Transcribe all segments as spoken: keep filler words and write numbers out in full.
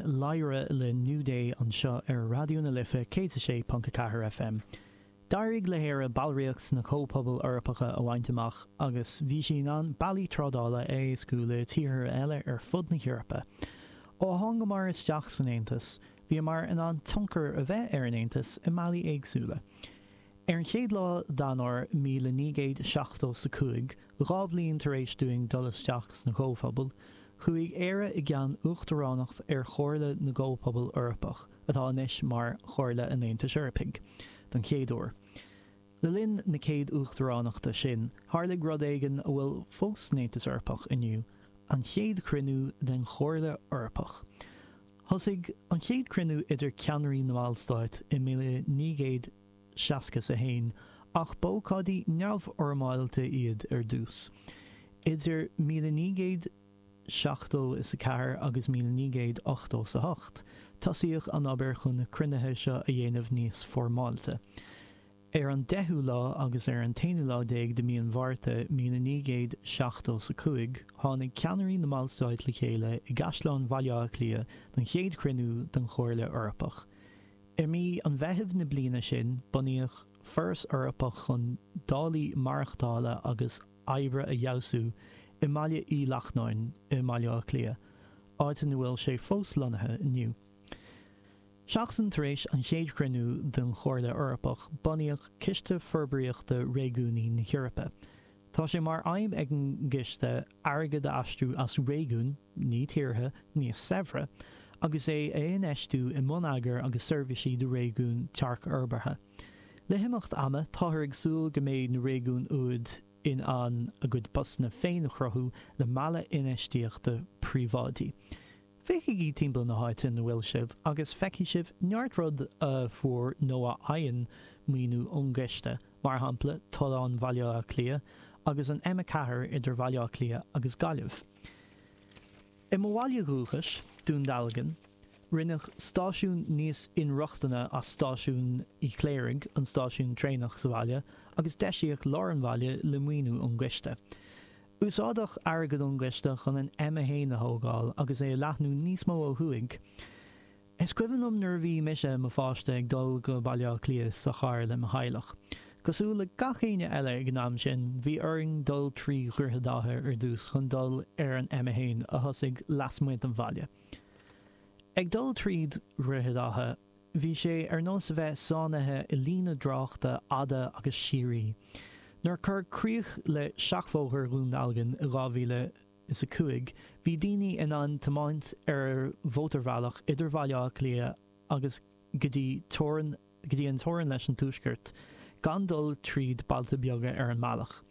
Lyra le New Day anseo ar Raidió na Life céad a sé ponc a ceathair FM. D'éirigh le hÉire ballraíocht sna Comhphobail Eorpacha a bhaint amach agus bhí sí in ann bealaí trádála a éascú le tíortha eile ar fud na hEorpa. Ó thángamar isteach san Aontas, bhíomar in ann tionchar a bheith ar an Aontas i mbealaí éagsúla. Ar an chéad lá d'Eanáir míle naoi gcéad seachtó 's a cúig, dhá bhliain tar éis dúinn dul isteach sna Comhphobail, chuaigh Éire i gceann uachtaránacht ar Chomhairle na gComhphobal Eorpach, atá anois mar Chomhairle an Aontais Eorpaigh, don chéad uair. Le linn na céad uachtaránachta sin, tharlaigh rud éigin a bhfuil fós san Aontas Eorpach inniu, an chéad chruinniú den Chomhairle Eorpach. Thosaigh an chéad chruinniú idir ceannairí na mballstát i míle naoi gcéad seasca 's a haon, ach b'ócáidí neamhfhoirmeálta iad ar dtús. Idir míle naoi gcéad seachtó is a ceathair agus míle naoi gcéad ochtó 's a hocht, tosaíodh an obair chun na cruinnithe seo a dhéanamh níos foirmeálta. Ar an deichiú lá agus ar an t-aonú lá déag de mí an Mhárta míle naoi gcéad seachtó 's a cúig, tháinig ceannairí na mballstát le chéile i gCaisleán Bhaile Átha Cliath don chéad chruinniú den Chomhairle Eorpach. I mí an Mheithimh na bliana sin, bunaíodh Foras Eorpach chun dálaí maireachtála agus oibre a fheabhsú i mBaile Uí Lachnáin i mBaile Átha Cliath, áit ina bhfuil sé fós lonnaithe inniu. Seachtain tar éis an chéad chruinniú den Chomhairle Eorpach, bunaíodh Ciste Forbraíochta Réigiúnaí na hEorpa. Tá sé mar aidhm ag an gciste airgead a aistriú as réigiúin, ní tíortha, níos saibhre, agus é a infheistiú i mbonneagar agus seirbhísí do réigiúin tearcfhorbartha. Le himeacht ama, táthar ag súil go mbeidh na réigiúin úd in ann a gcuid postanna féin a chruthú le mealladh infheistíochta príobháidí. Féachaigí timpeall na háite ina bhfuil sibh agus feicfidh sibh neart rud a fuair nó a fhaigheann maoiniú ón gciste, mar shampla Tollán Bhaile Átha Cliath agus an M a ceathair idir Bhaile Átha Cliath agus Gaillimh. I mo bhaile dhúchais, Dún Dealgan, rinneadh stáisiún níos inrochtana as Stáisiún Uí Chléirigh, an stáisiún traenach sa bhaile, agus deisíodh lár an bhaile le maoiniú ón gciste. Úsáideadh airgead ón gciste chun an M a haon a thógáil agus é a leathnú níos mó ó thuaidh. Is cuimhin liom nuair a bhí mise i mo pháiste ag dul go Baile Átha Cliath sa charr le mo theaghlach. Cosúil le gach éinne eile ag an am sin, bhí orainn dul trí Dhroichead Átha ar dtús chun dul ar an M a haon a thosaigh lasmuigh den bhaile. Ag dul tríd Dhroichead Átha, bhí sé ar nós a bheith sáinnithe i líne tráchta fhada agus síoraí. Nuair a cuireadh críoch le Seachbhóthar Dhún Dealgan i dhá mhíle is a cúig, bhí daoine in ann tiomáint ar mhótarbhealach idir Bhaile Átha Cliath agus go dtí teorainn go dtí an teorainn leis an Tuaisceart, gan dul tríd bailte beaga ar an mbealach.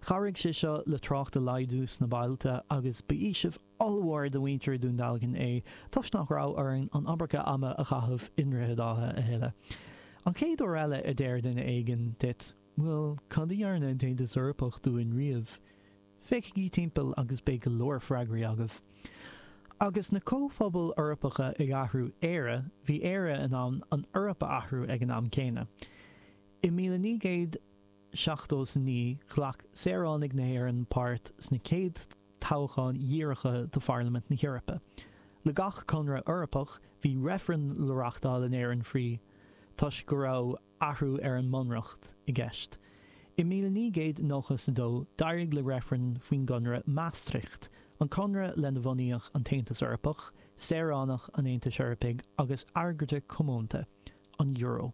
Chabhraigh sé seo le trácht a laghdú sna bailte agus ba fhaoiseamh ollmhór do mhuintir Dhún Dealgan é toisc nach raibh orainn an iomarca ama a chaitheamh i nDroichead Átha a thuilleadh. An chéad uair eile a deir duine éigin duit, 'Bhuel, cad a dhearna an tAontas Eorpach dúinn riamh? Féachaigí timpeall agus beidh go leor freagraí agaibh. Agus na Comhphobail Eorpacha ag athrú Éire, bhí Éire in ann an Eoraip a athrú ag an am céanna. I míle naoi gcéad seachtó 's a naoi, ghlac saoránaigh na hÉireann páirt sna chéad toghcháin dhíreacha do Pharlaimint na hEorpa. Le gach conradh Eorpach, bhí reifreann le reachtáil in Éirinn faoi toisc go raibh athrú ar an mbunreacht i gceist. I míle naoi gcéad nócha 's a dó, d'éirigh le reifreann faoin gConradh Maastricht, an conradh lena bhunaíodh an tAontas Eorpach, saoránach an Aontais Eorpaigh agus airgeadra comónta, an euro.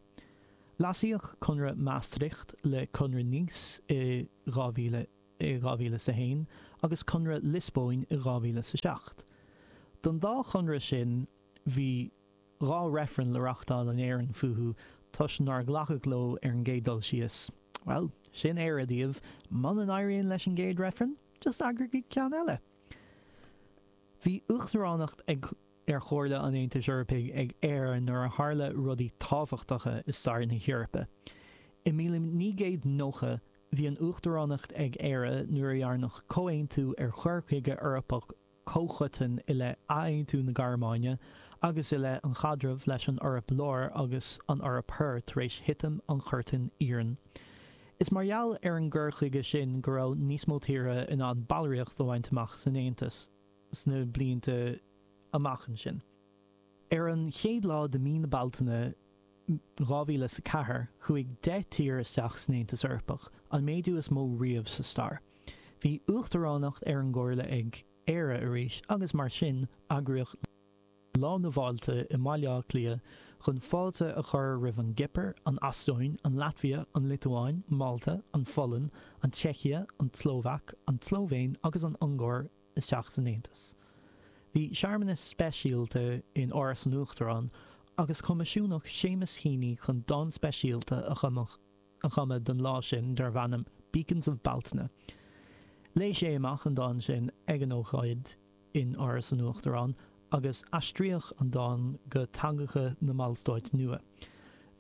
Leasaíodh Conradh Maastricht le Conradh Nice i dhá mhíle i dhá mhíle 's a haon agus Conradh Liospóin i dhá mhíle 's a seacht. Don dá chonradh sin bhí dhá reifreann le reachtáil in Éirinn fúthu toisc nár glacadh leo ar an gcéad dul síos. Bhuel, sin Éire daoibh, muna n-éiríonn leis an gcéad reifreann, just eagraigí ceann eile! Bhí uachtaránacht ag ar Chomhairle an Aontais Eorpaigh ag Éire nuair a tharla rudaí tábhachtacha i stair na hEorpa. I míle naoi gcéad nócha, bhí an uachtaránacht ag Éire nuair a dhearnadh comhaontú ar chur chuige Eorpach comhchoiteann i leith athaontú na Gearmáine agus i leith an chaidrimh leis an Eoraip Láir agus an Eoraip Thoir tar éis thitim an Churtain Iarainn. Is mar gheall ar an gcur chuige sin go raibh níos mó tíortha in ann ballraíocht a bhaint amach san Aontas sna blianta amach ansin. Ar an chéad lá de mí na Bealtaine dhá mhíle is a ceathair, chuaigh deich tír isteach san Aontas Eorpach, an méadú is mó riamh sa stair. Bhí uachtaránacht ar an gComhairle ag Éire arís agus mar sin eagraíodh Lá na bhFáilte i mBaile Átha Cliath chun fáilte a chur roimh an gCipir, an Eastóin, an Laitvia, an Liotuáin, Málta, an Pholainn, an tSeicia, an tSlóvaic, an tSlóivéin agus an Ungáir isteach san Aontas. Bhí searmanas speisialta in Áras an Uachtaráin agus coimisiúnach Seamus Heaney chun dán speisialta a chumadh don lá sin darbh ainm Beacons of Bealtaine. Léigh sé amach an dán sin ag an ócáid in Áras an Uachtaráin agus aistríodh an dán go teangacha na mballstáit nua.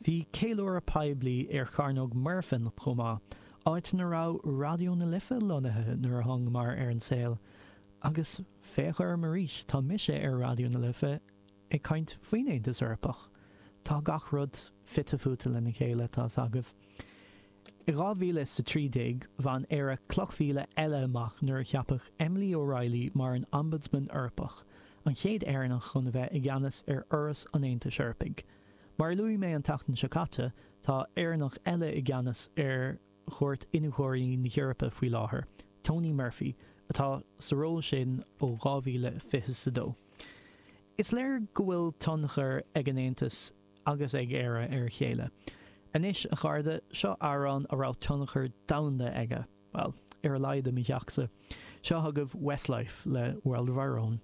Bhí ceiliúradh poiblí ar Chearnóg Mhuirfean chomh maith, áit ina raibh Raidió na Life lonnaithe nuair a thángamar ar an saol. Agus féach orm arís, tá mise ar Raidió na Life ag caint faoin Aontas Eorpach. Tá gach rud fite fuaite lena chéile, tá's agaibh. I dhá mhíle is a trí déag, bhain Éire cloch mhíle eile amach nuair a ceapadh Emily O'Reilly mar an Ombudsman Eorpach, an chéad Éireannach chun a bheith i gceannas ar Fhoras an Aontais Eorpaigh. Mar a luaigh mé an tseachtain seo caite, tá Éireannach eile i gceannas ar Chúirt Iniúchóirí na hEorpa faoi láthair, Tony Murphy, atá sa ról sin ó dhá mhíle fiche is a dó. Is léir go bhfuil tionchar ag an Aontas agus ag Éire ar a chéile. Anois, a chairde, seo amhrán a raibh tionchar domhanda aige, bhuel, ar a laghad i mo theachsa. Seo chugaibh Westlife le World of Our Own.